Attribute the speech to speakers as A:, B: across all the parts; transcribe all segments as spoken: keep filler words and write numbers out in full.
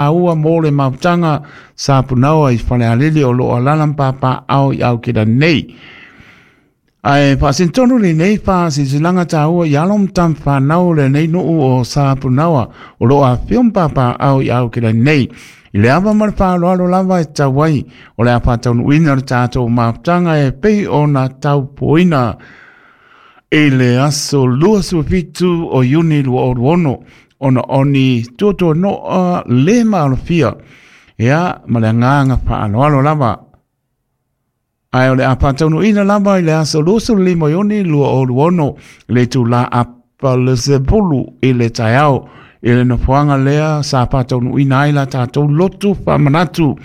A: Aua mo le mafutaga sa punaoa i Falealili o loo alaala ma papaaao i Aukena nei. Ae faasinotonu lenei faasilasilaga taua i alo ma tama fanau o lenei nuu o Sapunaoa o loo afifio ma papaaao i Aukena nei. I le ava ma le faaaloalo lava e tatau ai o le a faataunuuina le tatou mafutaga e pei ona taupuaina i le aso luasefulu fitu o Iuni lua o ono ona o ni tuatuanoa le maalofia ia ma le agaga faaaloalo lava. Ae o le a faataunuuina lava i le aso luasefulu lima o Iuni lua o ono le itulā apa le sepulu i le taeao i le nofoaga lea sa faataunuuina ai la tatou lotu faamanatu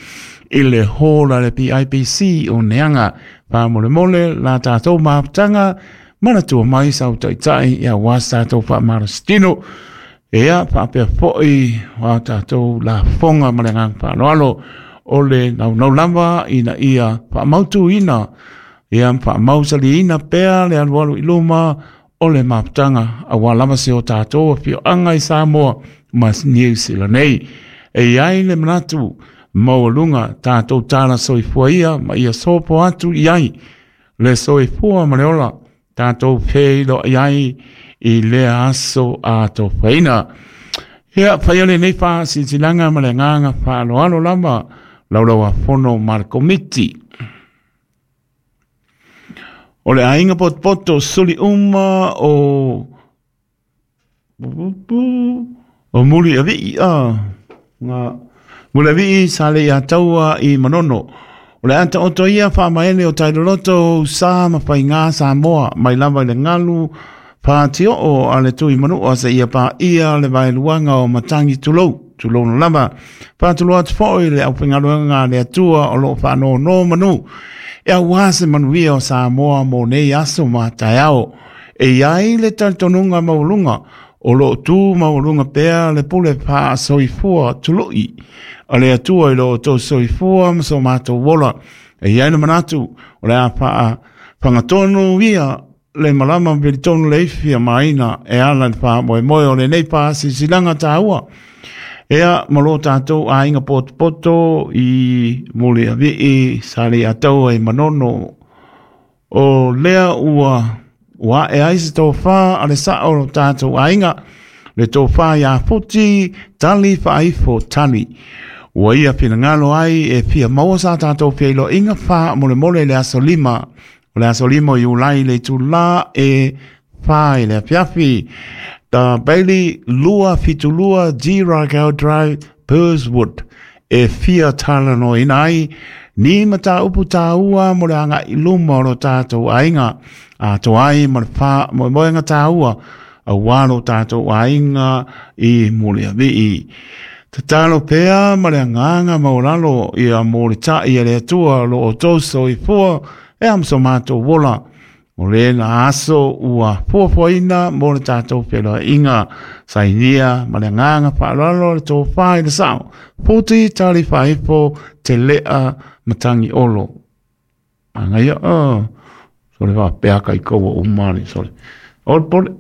A: i le hall a le P I P C o Neaga. Faamolemole la tatou mafutaga manatua mai sau taitai ia aua sa tatou faamalositino. Ia faapea foi o tatou lafoga ma le agaga faaaloalo o le naunau lava ina ia faamautuina ia faamausaliina pea le alualu i luma o le mafutaga aua lava se o tatou afioaga i Samoa ma Niu Sila nei. E i ai le manatu maualuga tatou tala soifua ia ma ia sopo atu i ai le soifua ma le ola tatou feiloai ai i lea aso atofaina. Ia faia lenei faasilasilaga ma le agaga faaaloalo lava laulauafono ma le komiti. O le aiga potopoto suli uma o o muli avii a nga muli avii sa le ia taua i Manono. O le ata oto ia faamaele o tailoloto sa ma whainga Samoa mai lava i le ngalu pātio a le tui manua se ia pā ia le vaeluanga o matangi tulou, tulou no lava. Pātulo atu foi le auwhengaluanga le atua o loo whaano no manu. E aua se manuia o Samoa mo nei aso ma taeao. E iai le talitonunga maulunga o loo tū maulunga pea le pule pā soifua tului. A le atua i loo tō soifua ma so mātou wola. E iai le manatu o le a paa whangatonu ia le malama pilitonu le ifi a maina e ala le wha moe moe o le nei pā sisilanga tāua. Ea malo tātou a inga potopoto i muli avii sa le ataua i Manono. O lea ua ua e ai se tōwhā a le sao o tātou a inga le tōwhā ia futi tali whaifo tali. Ua ia pinangalo ai e fia maua sa tātou whiailo inga wha mole mole le aso lima. O le aso lima o Iulai le tula e wha i le afiafi. Ta Bailey lua fitulua G. Ragau Drive, Burswood. E fia tala no inai, ni mata upu tāua mo le anga i luma o lo tātou ainga. A to ai mo le wha mo moenga tāua, a walo tātou ainga i mole avii. Tatalo pea ma le anganga maulalo ia mo le tai e le atua lo o tōso i fua e amso mātou wola. O le na aso ua fuafuaina mo le tātou whenua inga. Sainia ma le nganga whaalalo le tō whai le sao. Pōti tali whaifo te lea matangi olo. Anga ia, oh. Sole wā peaka i kaua umani, sole. Ol pole.